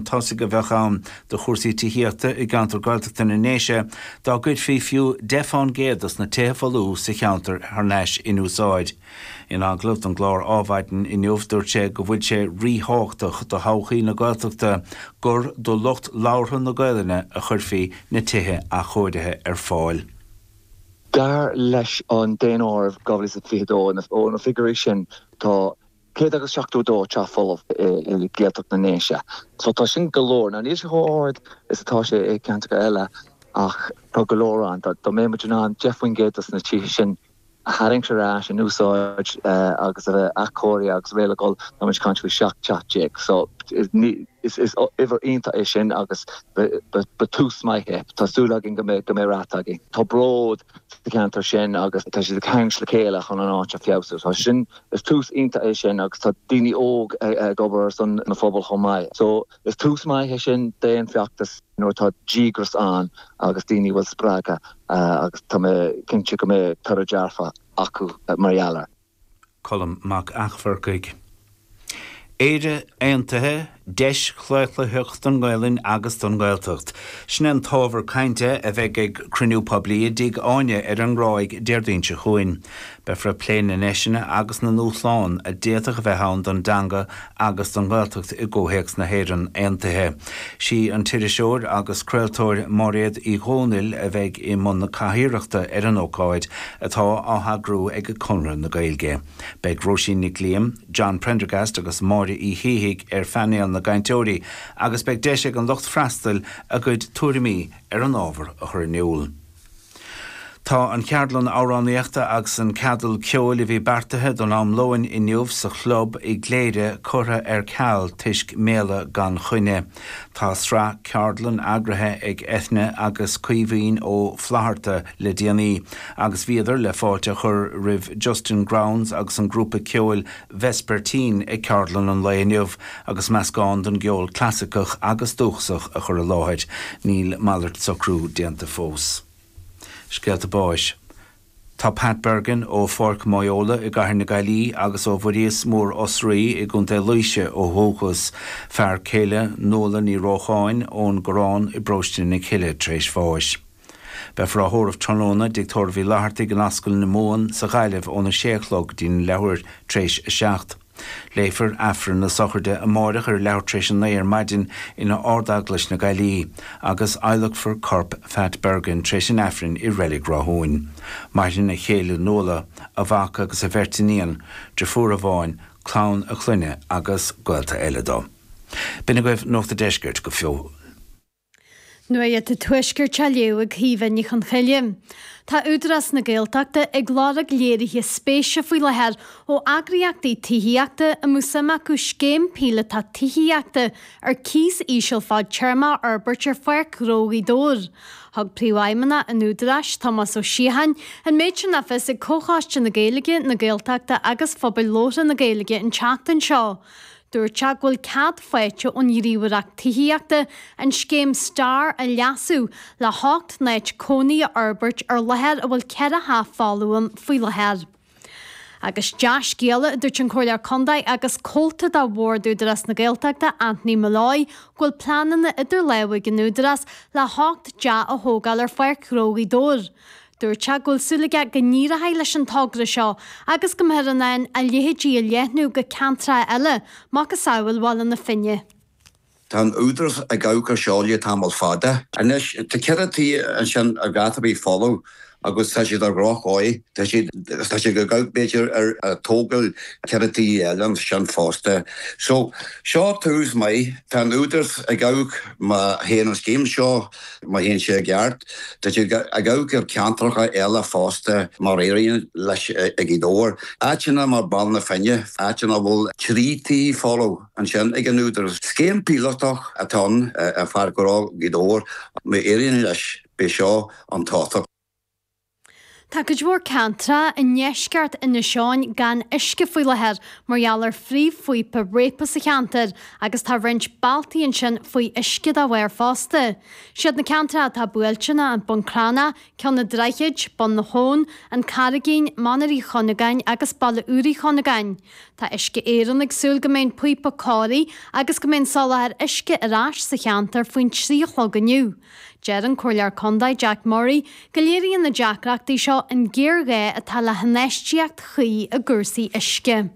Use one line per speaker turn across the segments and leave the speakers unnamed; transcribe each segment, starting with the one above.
tosaigh a bheadh ann do chúrsaí tithíochta i gceantar Gaeltachta na nDéise dá gcuirfí fiú 10 fán gcéad dos na tithe folmha sa cheantar thar n-ais in úsáid. In agallamh don gclár Ádhmhaidin inniu dúirt sé go bhfuil sé ríthábhachtach do thodhchaí na Gaeltachta gur do lucht labhartha na Gaelainne a chuirfí na tithe athchóirithe ar fáil.
Dar leis an Daonáireamh 2022, ó na figiúirí sin, tá 100 agus 72 teach folamh i Gaeltacht na nDéise. So tá sin go leor. Now níl sé chomh ard is atá sé i gceantracha eile ach tá go leor ann. Dá mbeadh muid in ann 10% dos na tithe sin a tharraingt ar ais in úsáid agus a bheith athchóirithe agus réidh le dhul, tá muid ag caint faoi 17 teach. So is uimhir iontach é sin agus ba tús maith é. Tá súil againn go mbeidh rath againn. Tá bród sa cheantar sin agus tá siad ag tarraingt le chéile chun an áit a feabhsú. Tá sin Is tús iontach é sin agus tá daoine óg ag obair ar son na phobal chomh maith. So is tús maith é sin d'aon feachtas nuair atá díograis ann agus daoine a bhfuil spreagtha agus tá mé cinnte go mbeidh toradh dearfach acu mar gheall air.
Colm Mac Eachmharcaigh. Éire Aontaithe, Deis Chlaochlaitheach don nGaelainn agus don nGaeltacht. Sin é an t-ábhar cainte a bheidh ag cruinniú poiblí i dTigh Áine ar an nGráig Déardaoin seo chugainn. Beifear ag plé na ndeiseanna agus na ndúshlán a d'fhéadfadh a bheith ann don dteanga agus don Ghaeltacht i gcomhthéacs na hÉireann Aontaithe. Sí an t-iriseoir agus craoltóir Máiréad Uí Dhomhnaill a bheidh i mbun na cathaoireachta ar an ócáid, atá á heagrú ag Conradh na Gaeilge. Beidh Róisín Nic Liam, John Prendergast agus Máire Uí Shíthigh ar phainéal na gcainteoirí agus beidh deis ag an lucht freastail a gcuid tuairimí ar an ábhar a chur in iúl. Tá an cheardlann amhránaíochta agus an ceadal ceoil a bhí beartaithe don am lóin inniu sa chlub i gCléire curtha ar ceal toisc méala gan choinne. Tá sraith ceardlann eagraithe ag Eithne agus Caoimhín Ó Flatharta le déanaí agus bhíodar le fáilte a chur roimh Justin Grounds agus an grúpa ceoil Vespertine ag ceardlann an lae inniu agus meascán den gceol clasaiceach agus dúchasach a chur i láthair. Níl malairt socrú déanta fós. Scéalta báis. Tá Pat Bergin ó Pháirc Mhaigheola i gCathair na Gaillimhe agus ó Bhuiríos Mór Osraí i gContae Laoise ó dhúchas, fear céile Nuala Ní Rócháin ón gCorrán i bParóiste na Cille tar éis bháis. Beifear á thórramh tráthnóna i dTigh Tórraimh Uí Fhlathartaigh in Ascaill na Mumhan sa Ghaillimh óna sé a chlog go dtí an leathuair tar éis a 7. Léifear Aifreann na sochraide amáireach ar leathuair tar éis a 9 ar maidin in Ard-Eaglais na Gaillimhe agus adhlacfar corp Phat Bergin tar éis an Aifrinn i Reilig Ráthúin. Maireann a chéile Nuala, a mhac agus a bheirt iníon, driofúr amháin, clann a chlainne agus gaolta eile dó. B'in agaibh Nuacht a' Deiscirt go fóill.
Nuacht an Tuaiscirt á léamh ag Caoimhe Ní Chonchoille. Tá Údarás na Gaeltachta ag lorg léirithe spéise faoi láthair ó eagraíochtaí tithíochta a mbeadh suim acu scéim píolótach tithíochta ar cíos íseal fadtéarmach a fhorbairt ar Pháirc Ghnó Ghaoth Dobhair. Thug Príomhfheidhmeannach an Údaráis, Tomás Ó Síocháin, an méid sin le fios ag Comhchoiste na Gaeilge, na Gaeltachta agus Phobail Labhartha na Gaeilge an tseachtain seo. Dúirt sé go bhfuil cead faighte ón Ghníomhaireacht Tithíochta an scéim Star a leasú le hocht n-áit cónaí a fhorbairt ar láthair a bhfuil 4 theach folamh ann faoi láthair. Agus dea-scéala, a dúirt an Comhairleoir Contae agus comhalta de Bhord Údarás na Gaeltachta, Anthony Molloy, go bhfuil pleananna idir lámha ag an Údarás le hocht dteach a thógáil ar Pháirc Ghnó Ghaoth Dobhair. Dúirt sé go bhfuil súil aige go n-éireoidh leis an togra seo agus go mbeifear in ann a leithéidí a leathnú go ceantracha eile, macasamhail Bhaile na Finne.
Tá an Údarás ag amharc ar seo le tamall fada. Anois, tá 4 tí ansin ar dhátá ar bith folamh agus tá siad ar dhroch-dhóigh. Tá siad, tá siad ag amharc b'fhéidir ar tógáil 4 tí eile ansin fosta. So, seo tús maith. Tá an Údarás ag amharc má théann an scéim seo Má théann sé i gceart, tá siad ag amharc ar ceantracha eile fosta má éiríonn leis i Gaoth Dobhair. Áiteanna mar Baile na Finne, áiteanna a bhfuil 3 tí folamh ansin ag an Údarás. Scéim píolótach atá ann ar Pháirc Ghnó Ghaoth Dobhair. Má éiríonn leis, beidh seo an tábhachtach.
Tá cuid mhór ceantracha i ndeisceart Inis Eoghain gan uisce faoi láthair mar gheall ar phríomhphíopa réabtha sa cheantar agus tá roinnt bealtaí ansin faoi uisce dá bharr fosta. Siad na ceantracha atá buailte ná an Bun Cranncha, Ceann an Droichid, Bun na hAbhann, An Carraigín, Mainéar Uí Chonnagáin agus Baile Úr Uí Chonnagáin. Tá Uisce Éireann ag súil go mbeidh an píopa cóirithe agus go mbeidh an soláthar uisce ar ais sa cheantar faoin 3 a chlog inniu. Deir an Comhairleoir Contae Jack Murray go léiríonn na deacrachtaí seo an géarghá atá le hinfheistíocht chuí i gcúrsaí uisce.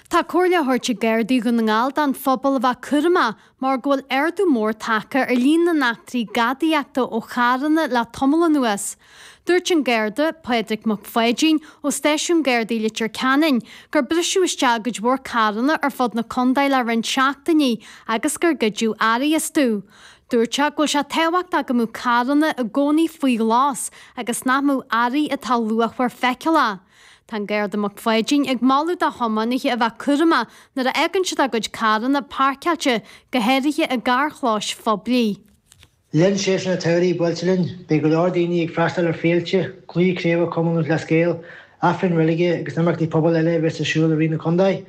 Tá comhairle á thabhairt ag Gardaí Dhún na nGall don phobal a bheith cúramach mar go bhfuil ardú mór tagtha ar líon na n-eachtraí gadaíochta ó charranna le tamall anuas. Dúirt an Garda, Pádraig Mac Pháidín, ó Stáisiún Gardaí Leitir Ceanainn, gur briseadh isteach i gcuid mhór carranna ar fud na contae le roinnt seachtainí agus gur goideadh earraí astu. Dúirt sé go bhfuil sé tábhachtach go mbeadh carranna i gcónaí faoi ghlas agus nach mbeadh earraí atá luachmhar feiceálach. Tá an Garda Mac Pháidín ag moladh do thiománaithe a bheith cúramach nuair a fhágann siad a gcuid carranna páirceáilte, go háirithe i gcarrchlóis phoiblí.
Le linn séasúr an tsamhraidh buailte linn, beidh go leor daoine ag freastal ar féilte, cluichí craoibhe Chumann Lúthchleas Gael, Aifrinn reilige agus imeachtaí pobail eile a bheas ar siúl i rith na contae.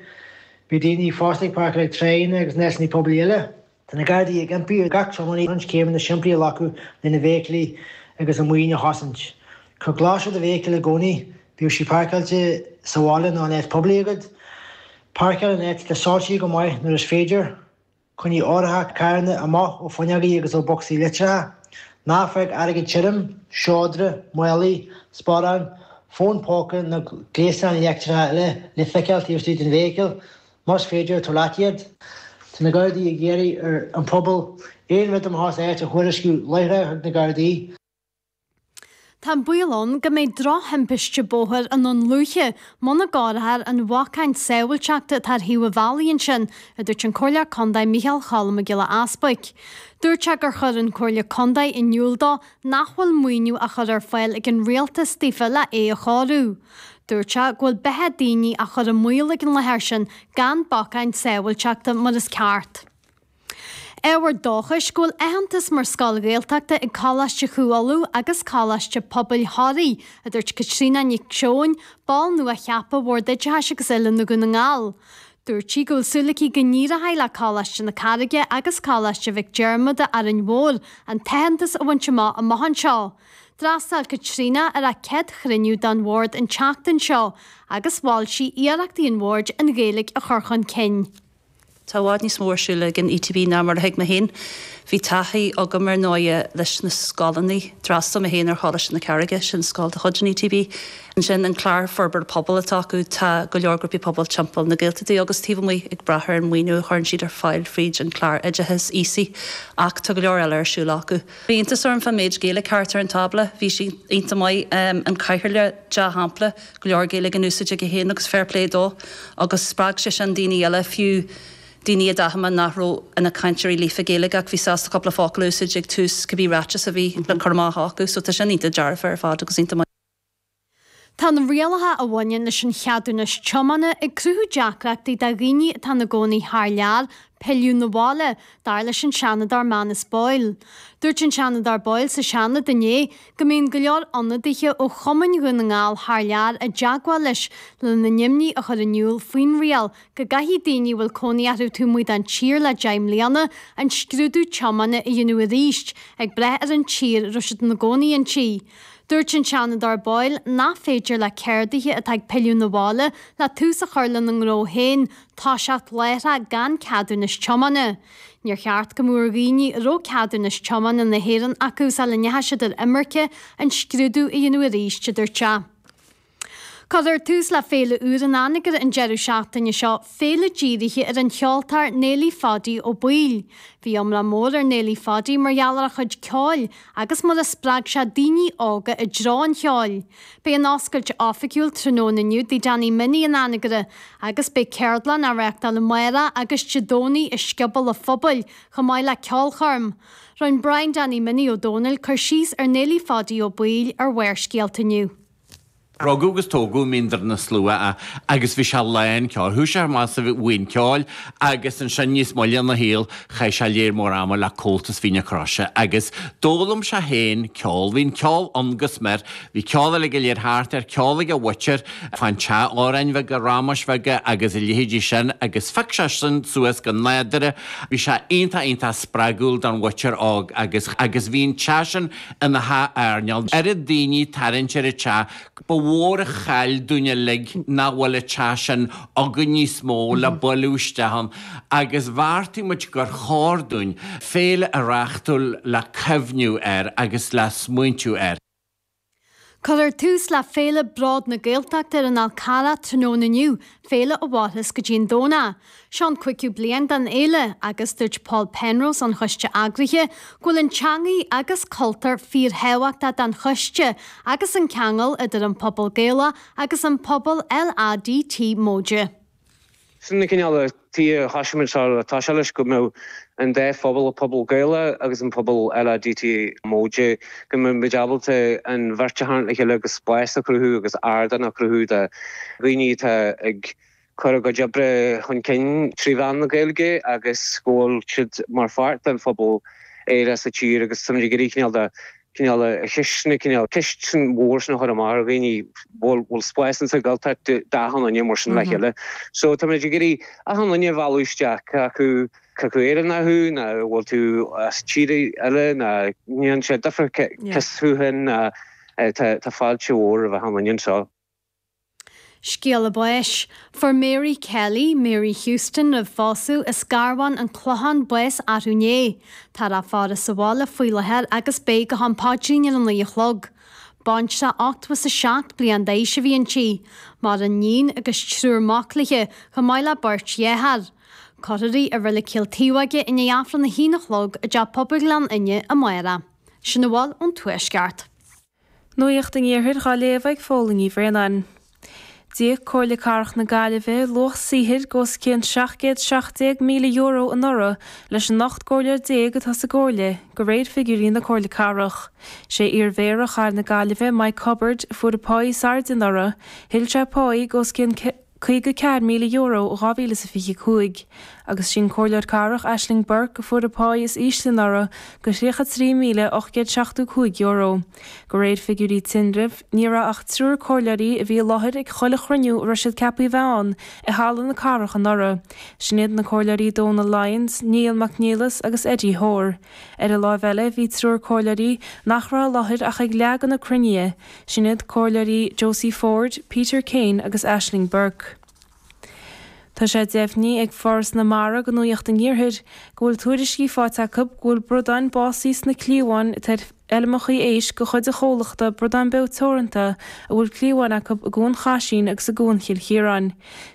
Beidh daoine fosta ag páirceáil ag tráigheanna agus in áiteanna poiblí eile. Tá na Gardaí ag impí ar gach tiománaí roinnt céimeanna simplí a ghlacadh lena bhfeithiclí agus a maoin a chosaint. Cuir glas ar do bhfeithicil i gcónaí, bíodh sí páirceáilte sa bhaile nó in áit poiblí agat. Páirceáil in áit atá soilsithe go maith nuair is féidir. Coinnigh árthach carranna amach ó fuinneogaí agus ó bhocsaí litreacha. Ná fág airgead tirim, seodra, málaí, sparáin, fón póca nó gléasáin leictreacha eile le feiceáil taobh istigh den bhfeithicil. Más féidir, tabhair leat iad. Tá na Gardaí ag iarraidh ar an phobal aon rud amach as áit a thuairisciú láithreach chuig na Gardaí.
Tá an baol ann go mbeidh drochthimpiste bóthair i nDún Lúiche muna gcóireofar an bhacáin sábháilteachta atá ar thaobh an bhealaigh ansin, a dúirt an Comhairleoir Contae Micheál Cholm Mac Giolla Easbuic. Dúirt sé gur chuir an Chomhairle Contae in iúl dó nach bhfuil maoiniú á chur ar fáil ag an Rialtas daofa le é a chóiriú. Dúirt sé go bhfuil beatha daoine á chur i mbaol ag an láthair sin gan bacáin sábháilteachta mar is ceart. Ábhar dóchais go bhfuil aitheantas mar scoil Ghaeltachta ag Coláiste Chú Uladh agus Coláiste Pobail Thoraí, a dúirt Caitríona Nic Seoin, ball nua-cheaptha Bhord Oideachais agus Oiliúna Dhún na nGall. Dúirt sí go bhfuil súil aici go n-éireoidh le Coláiste na Carraige agus Coláiste Mhic Diarmada, Árainn Mhór, an t-aitheantas a bhaint amach amach anseo. D'fhreastail Caitríona ar a céad chruinniú den Bhord an tseachtain seo agus mhol sí iarrachtaí an Bhoird an Ghaeilge a chur chun cinn.
Tá i bhfad níos mó ar siúl ag an ETB ná mar a thuig mé féin. Bhí taithí agam ar ndóighe leis na scoileanna. D'fhreastail mé féin ar Choláiste na Carraige, sin scoil de chuid an ETB. Ansin an clár forbartha pobail atá acu, tá go leor grúpaí pobail timpeall na Gaeltachta agus taobh amuigh ag brath ar an maoiniú a chuireann siad ar fáil fríd an clár oideachais aosaigh ach tá go leor eile ar siúl acu. Bhí iontas orm fán méid Gaeilge thart ar an tábla, bhí sé iontach maith. An cathaoirleach, dea-shampla. go leor Gaeilge in úsáid aige féin agus fair play dó agus spreag sé sin daoine eile, fiú daoine a d'aithin mé nach raibh ina cainteoirí líofa Gaeilge ach bhí sásta cúpla focal a úsáid ag tús cibé ráiteas a bhí le cur amach acu so tá sin iontach dearfa ar fad agus iontach maith.
Tá na rialacha a bhaineann leis an cheadúnas tiomána ag cruthú deacrachtaí do dhaoine atá ina gcónaí thar lear pilleadh 'na bhaile, dar leis an Seanadóir Manus Boyle. Dúirt an Seanadóir Boyle sa Seanad inné go mbíonn go leor ionadaithe ó chumainn Dhún na nGall thar lear i dteagmháil leis lena n-imní a chur in iúl faoin riail go gcaithfidh daoine a bhfuil cónaí orthu taobh amuigh den tír le 10 mbliana an scrúdú tiomána a dhéanamh arís, ag brath ar an tír a raibh siad ina gcónaí inti. Dúirt an Seanadóir Boyle nach féidir le ceardaithe atá ag pilleadh 'na bhaile le tús a chur lena ngnó féin toiseacht láithreach gan ceadúnas tiomána. Níor cheart go mbeadh ar dhaoine a raibh ceadúnas tiomána na hÉireann acu sula ndeachaigh siad ar imirce an scrúdú a dhéanamh arís, a dúirt sé. Cuirfear tús le féile úr in Anagaire an deireadh seachtaine seo, féile dírithe ar an cheoltóir Néilí Pháidí Ó Baoill. Bhí iomrá mór ar Néilí Pháidí mar gheall ar a chuid ceoil agus mar a spreag sé daoine óga i dtreo an cheoil. Beidh an oscailt oifigiúil tráthnóna inniu i dTigh Danny Minnie in Anagaire agus beidh ceardlann á reáchtáil amárach agus Dé Domhnaigh i Scioból a' Phobail chomh maith le ceolchoirm. Rinne Brian Danny Minnie Ó Dónaill cur síos ar Néilí Pháidí Ó Baoill ar Bharrscéalta inniu.
Rugadh agus tógadh i mBínder na Slua é agus bhí sé lán ceoil. Chuaigh sé amach sa bhuíon ceoil agus ansin níos moille ina shaol chaith sé léar mór ama le Comhaltas Mhín na Croise agus d'fhoghlaim sé féin ceol. Bhí an ceol ann go smior. Bhí ceol uilig go léir thart air, ceol ag a mhuintir fán teach, amhráin bheaga, ramáis bheaga agus a leithéidí sin agus phioc sé sin suas go nádúrtha. Bhí sé iontach iontach spreagúil don mhuintir óg agus agus bhí an teach sin ina theach airneáil. Oiread daoine ag tarraingt ar an teach, ba mhór an chaill dúinn uilig nach bhfuil an teach sin againn níos mó le bailiú isteach ann agus bheartaigh muid gur chóir dúinn féile a reáchtáil le cuimhniú air agus le smaointiú air.
Cuirfear tús le Féile Bród na Gaeltachta ar an Fhál Carrach tráthnóna inniu, féile a mhairfeas go dtí an Domhnach. Seo an cúigiú bliain den fhéile agus dúirt Paul Penrose ón choiste eagraithe go bhfuil an teangaidh agus cultúr fíorthábhachtach don choiste agus an ceangal idir an pobal Gaelach agus an pobal LADT móide.
Sin an cineál tuige a thosaigh muid seo le toiseacht leis, go mbeadh an dá phobal, an pobal Gaelach agus an pobal LADT móide, go mbeadh muid ábalta an bheirt a tharraingt le chéile agus spás a chruthú agus ardán a chruthú do dhaoine atá ag cur a gcuid oibre chun cinn trí mheán na Gaeilge agus go bhfuil siad mar pháirt den phobal aerach sa tír agus táimid ag iarraidh cineál de cineál a cheisteanna, cineál ceist sin mhór sin a chur amach ar dhaoine, bhfuil bhfuil spás insa Ghaeltacht d'achan duine mar sin le chéile. So tá muid ag iarraidh achan duine a mhealladh isteach, cé acu cé acu Éireannach thú nó bhfuil tú as tír eile nó ní dhéanann sé difear cé thú féin ná tá tá fáilte mhór roimh achan duine anseo.
Scéala báis. Fuair Mary Kelly, Mary Houston roimh phósadh, as Garbhán, An Clochán, bás arú inné. Táthar á faire sa bhaile faoi láthair agus beidh go ham paidrín ar a 9 a chlog. Baintreach 87 bliain d'aois a bhí inti. Maireann níon agus triúr mac léi, chomh maith le beirt dhearthár. Cuirfear í i Reilig Chill Taobhóige i ndiaidh Aifreann a haon a chlog i dTeach Pobail Ghleann Fhinne amárach. Sin a bhfuil ón Tuaisceart.
Nuacht an Iarthair dhá léamh ag Fódhla Ní Bhraonáin. D'íoc Comhairle Cathrach na Gaillimhe luach saothair de os cionn €717,000 anuraidh leis an 18 gcomhairleoir atá sa gComhairle, de réir figiúirí na Comhairle Cathrach. Sé iar-mhéara chathair na Gaillimhe, Mike Hubbard, a fuair an pá is airde anuraidh, thuill sé pá de os cionn €54,000 in 2025, agus sí an Comhairleoir Cathrach Ashling Burke a fuair an pá is ísle anuraidh de €33,875. De réir figiúirí tinrimh, ní raibh ach triúr comhairleoirí a bhí i láthair ag chuile chruinniú a raibh siad ceaptha a bheith ann i Halla na Cathrach anuraidh. Sin iad na Comhairleoirí Donal Lyons, Niall Mac Niallais agus Eddie Hoare. Ar an láimh eile, bhí triúr comhairleoirí nach raibh i láthair ach ag leath de na cruinnithe, Sin iad Comhairleoirí Josie Forde, Peter Kane agus Ashling Burke. Tá sé deimhnithe ag Foras na Mara do Nuacht an Iarthair go bhfuil tuairiscí faighte acu go bhfuil bradáin básaithe sna cliabháin atá ar fheilmeacha éisc de chuid an chomhlachta Bradán Beo Teoranta a bhfuil cliabháin acu i gCuan Chaisín agus i gCuan Chill Chiaráin.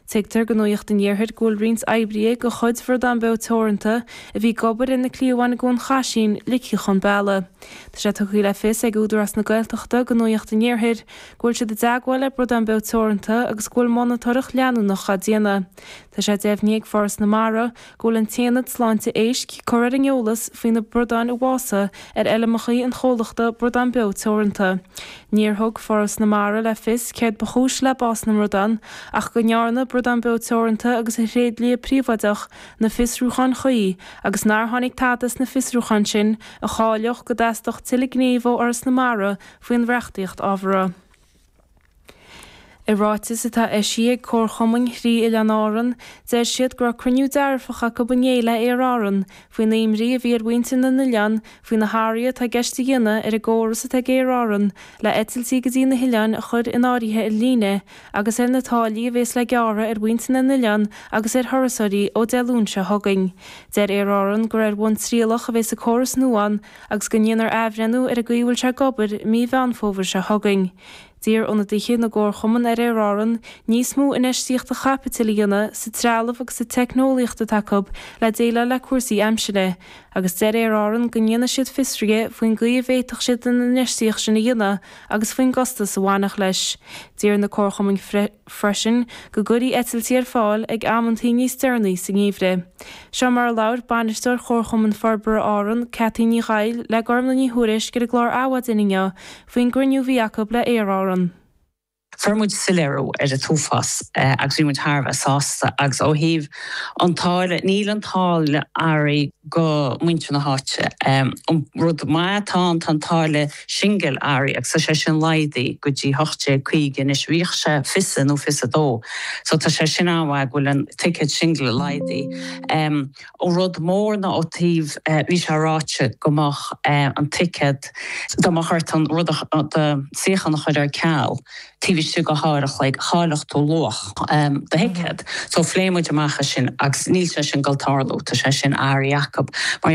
Tuigtear do Nuacht an Iarthair go bhfuil roinnt oibrithe de chuid Bhradán Beo Teoranta a bhí ag obair ar na cliabháin i gCuan Chaisín ligthe chun bealaigh. Tá sé tugtha le fios ag Údarás na Gaeltachta do Nuacht an Iarthair go bhfuil siad i dteagmháil le Bradán Beo Teoranta agus go bhfuil monatóireacht leanúnach á déanamh. Tá sé deimhnithe ag Foras na Mara go bhfuil an tAonad Sláinte Éisc curtha ar an eolas faoi na bradáin a bhásaigh ar fheilmeacha an chomhlachta Bradán Beo Teoranta. Níor thug Foras na Mara le fios céard ba chúis le bás na mbradán ach go ndearna Bradán Beo Teoranta agus a thréidlia príobháideach na fiosrúcháin chuí agus nár tháinig tada sna fiosrúcháin sin a cháileodh go dteastódh tuilleadh gnímh ó Fhoras na Mara faoin reachtaíocht ábhartha. I ráiteas atá eisithe ag Comharchumainn thrí Oileáin Árann, deir siad go raibh cruinniú dearfach acu inné le Aer Árann faoin imní a bhí ar mhuintir na n-oileán faoi na hathruithe atá i gceist a dhéanamh ar an gcóras atá ag Aer Árann le eitiltí go dtí na hoileáin a chur in áirithe ar líne agus ar na táillí a bhéas le gearradh ar mhuintir na n-oileán agus ar thurasóirí ó Dé Luain seo chugainn. Deir Aer Árann gur ar bhonn trialach a bhéas an córas nua ann agus go ndéanfar athbhreithniú ar an gcaoi a bhfuil sé ag obair i mí Mheán Fómhair seo chugainn. D'iarr ionadaithe na gcomharchumann ar Aer Árann níos mó infheistíochta chaipitil a dhéanamh sa trealamh agus sa teicneolaíocht atá acu le déileáil le cúrsaí aimsire agus deir Aer Árann go ndéanfaidh siad fiosruithe faoin gcaoi a bhféadfadh siad an infheistíocht sin a dhéanamh agus faoin gcostas a bhainfeadh leis. D'iarr na comharchumainn freisin go gcuirfí eitiltí ar fáil ag amantaí níos deireanaí sa ngeimhreadh. Seo mar a labhair Bainisteoir Chomharchumann Forbartha Árann, Cathy Ní Dhaill, le Gormlaith Ní Thuairisg ar an gclár Adhmhaidin inniu faoin gcruinniú a bhí acu le Aer Árann.
Fuair muid soiléiriú ar an t-uafás agus bhí muid thar a bheith sásta agus ó thaobh an táille, níl an táille athraithe go muintir na háite. An rud maith atá ann, tá an táille singil athraithe agus tá sé sin laghdaithe go dtí 18.50 anois, bhíodh sé fiche nó 22 so tá sé sin an-mhaith go bhfuil an ticéad singil laghdaithe. An rud mór ná ó taobh, bhí sé ráite go mbeadh an ticéad, dá mbeadh ort an rud, do suíochán a chur ar ceal taobh istigh de uair a chloig, chaillfeadh tú luach do thicéad. So phléigh muid amach é sin agus níl sé sin ag dul tarlú, tá sé sin athraithe acu. Mar.